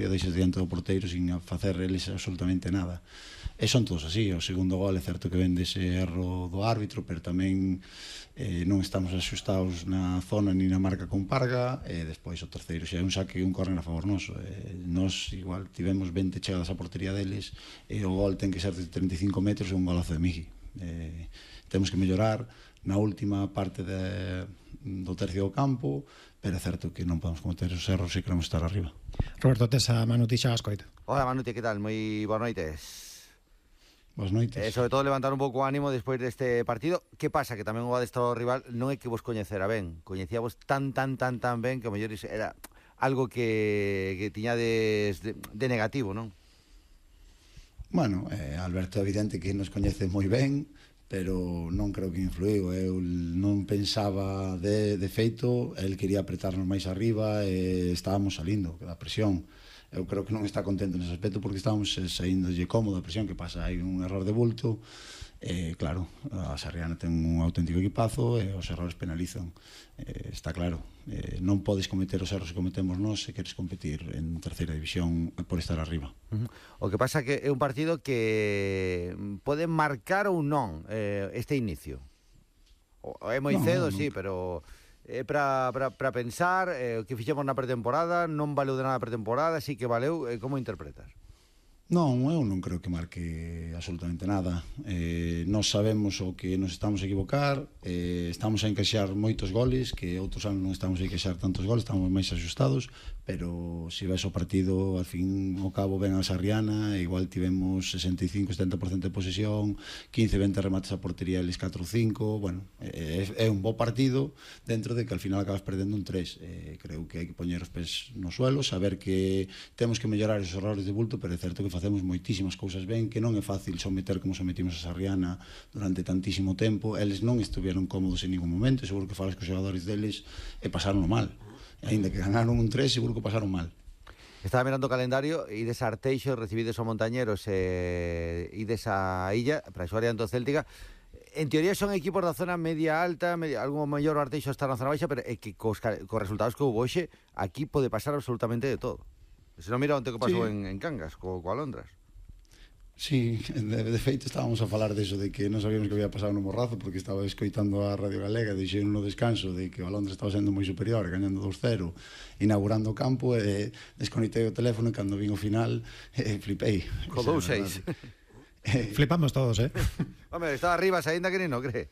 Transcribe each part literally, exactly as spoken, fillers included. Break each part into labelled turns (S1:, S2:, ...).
S1: deixes diante do porteiro sin facer eles absolutamente nada. E son todos así. O segundo gol é certo que vende ese erro do árbitro, pero tamén eh, non estamos axustados na zona ni na marca con Parga, e despois o terceiro xa é un saque e un córner a favor noso. Eh, nos igual tivemos vinte chegadas á portería deles e o gol ten que ser de treinta e cinco metros e un golazo de Migi. Eh, temos que mellorar na última parte de, do tercio do campo, pero é certo que non podemos cometer os erros se queremos estar arriba.
S2: Roberto Tesa, Manuti xa ascoita.
S3: Hola Manuti, que tal? Moi boas noites.
S1: Boas noites.
S3: Eh, sobre todo levantar un pouco o ánimo despois deste partido. Que pasa? Que tamén o adestrado rival non é que vos coñecera ben. Coñecíamos tan, tan, tan, tan ben que o mellor era algo que, que tiñades de, de negativo, non?
S1: Bueno, eh, Alberto é evidente que nos coñece moi ben, pero non creo que influiu. Eu non pensaba de, de feito, el quería apretarnos máis arriba e estábamos salindo da presión. Eu creo que non está contento nese aspecto porque estábamos saíndolle cómodo a presión. Que pasa? Hai un error de bulto e claro, a Sarriana ten un auténtico equipazo e os errores penalizan. Eh, está claro, eh, non podes cometer os erros que cometemos nós se queres competir en terceira división por estar arriba.
S3: Uh-huh. O que pasa que é un partido que pode marcar ou non eh, este inicio. O, é moi
S1: no,
S3: cedo,
S1: no,
S3: sí,
S1: no.
S3: pero é para pensar eh, o que fixemos na pretemporada non valeu de nada a pretemporada, sí que valeu. Eh, como interpretas?
S1: Non, eu non creo que marque absolutamente nada. Eh, nós sabemos o que nos estamos a equivocar, eh, estamos a encaixar moitos goles, que outros anos non estamos a encaixar tantos goles, estamos máis axustados, pero se ves o partido, al fin ao cabo ven a Sarriana, igual tivemos sesenta e cinco a setenta por cento de posesión, quince a vinte remates a portería, eles catro ou cinco, bueno, é, é un bo partido dentro de que al final acabas perdendo un tres. Eh, creo que hai que poñer os pés no suelo, saber que temos que mellorar os errores de bulto, pero é certo que facemos moitísimas cousas ben, que non é fácil someter como sometimos a Sarriana durante tantísimo tempo. Eles non estuveron cómodos en ningún momento, seguro que falas cos xogadores deles e pasaron mal. E ainda que ganaron un tres, seguro que pasaron mal.
S3: Estaba mirando o calendario, ides a Arteixo, recibides o Montañeros e eh, ides a Illa para xogar ante o Céltica. En teoría son equipos da zona media alta, media, algo mellor o Arteixo está na zona baixa, pero é que cos, cos resultados que houve hoxe, aquí pode pasar absolutamente de todo. Se non mira onde que pasou sí. en, en Cangas, co, co Alondras.
S1: Sí, de, de feito estábamos a falar deso, de que non sabíamos que había pasado no Morrazo, porque estaba escoitando a Radio Galega, dixeron no descanso de que o Alondras estaba sendo moi superior, gañando dos cero, inaugurando o campo, e desconectei o teléfono, e cando vin o final, eh, flipei.
S3: Co dous seis.
S2: Flipamos todos, eh?
S3: Home, estaba arriba, saínda que nin no cree.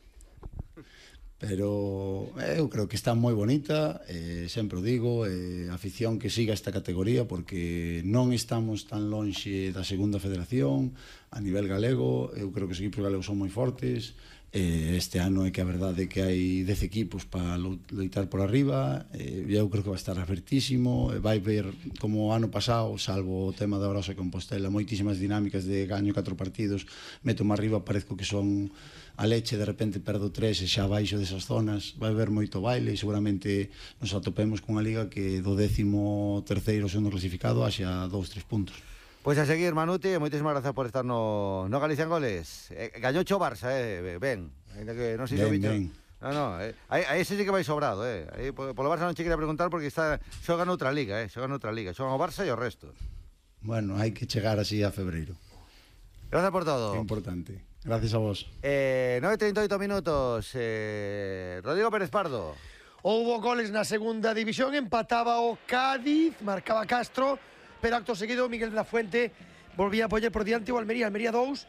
S1: Pero eu creo que está moi bonita, eh, sempre o digo, eh, afición que siga esta categoría, porque non estamos tan lonxe da segunda federación a nivel galego. Eu creo que os equipos galegos son moi fortes. Eh, este ano é que a verdade é que hai dez equipos para loitar por arriba. Eh, eu creo que vai estar abertísimo, eh, vai ver como o ano pasado, salvo o tema da Orosa e Compostela, moitísimas dinámicas de gaño catro partidos, meto má arriba, parezco que son a leche, de repente perdo tres e xa baixo desas zonas. Vai haber moito baile e seguramente nos atopemos cunha liga que do décimo terceiro segundo clasificado haxa dous, tres puntos.
S3: Pois a seguir, Manuti, moitísimas grazas por estar no, no Galicia en Goles. Eh, gañou o Barça, eh, ben. Ainda que non sei se o bicho. No, no, eh, aí, aí ese sí que vai sobrado, eh. Aí polo Barça non che quería preguntar porque está xoga noutra liga, eh, xoga noutra liga, xoga o Barça e o resto.
S1: Bueno, hai que chegar así a febreiro.
S3: Gracias por todo.
S1: É importante. Gracias a vos.
S3: Eh, nove e trinta e oito minutos. Eh, Rodrigo Pérez Pardo.
S4: Houbo goles na segunda división, empataba o Cádiz, marcaba Castro, pero acto seguido Miguel de la Fuente volvía a poñer por diante o Almería. Almería dous,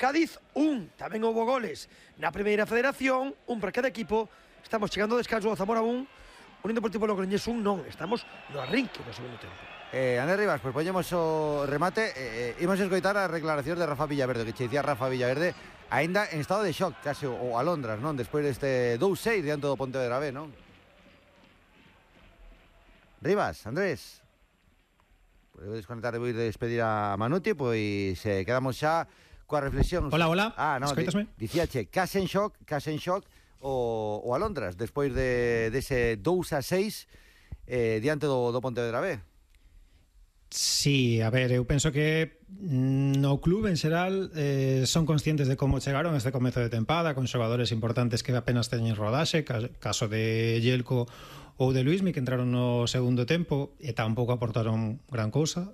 S4: Cádiz un. Tamén houbo goles na primeira federación, un para cada equipo. Estamos chegando ao descanso, o Zamora un, Unión Deportivo Logroñés un, non, estamos no arrinque do segundo tempo.
S3: Eh, Andrés Rivas, pues poñemos o remate. eh, eh, Imos a escoitar a declaración de Rafa Villaverde, que che dicía Rafa Villaverde aínda en estado de shock, case o Alondras, non? Despois deste dous seis diante do Pontevedra B, non? Rivas, Andrés. Podeu desconectar e vou ir despedir a Manuti, pois eh, quedamos xa coa reflexión.
S2: Hola, hola,
S3: ah, no,
S2: escoitasme?
S3: Di, dicíache, case en shock, case en shock o, o Alondras, despois de, dese dous a seis eh, diante do, do Pontevedra B.
S2: Sí, a ver, eu penso que no club en xeral eh, son conscientes de como chegaron este comezo de tempada, con xogadores importantes que apenas teñen rodaxe, caso de Yelko ou de Luismi, que entraron no segundo tempo e tampouco aportaron gran cousa.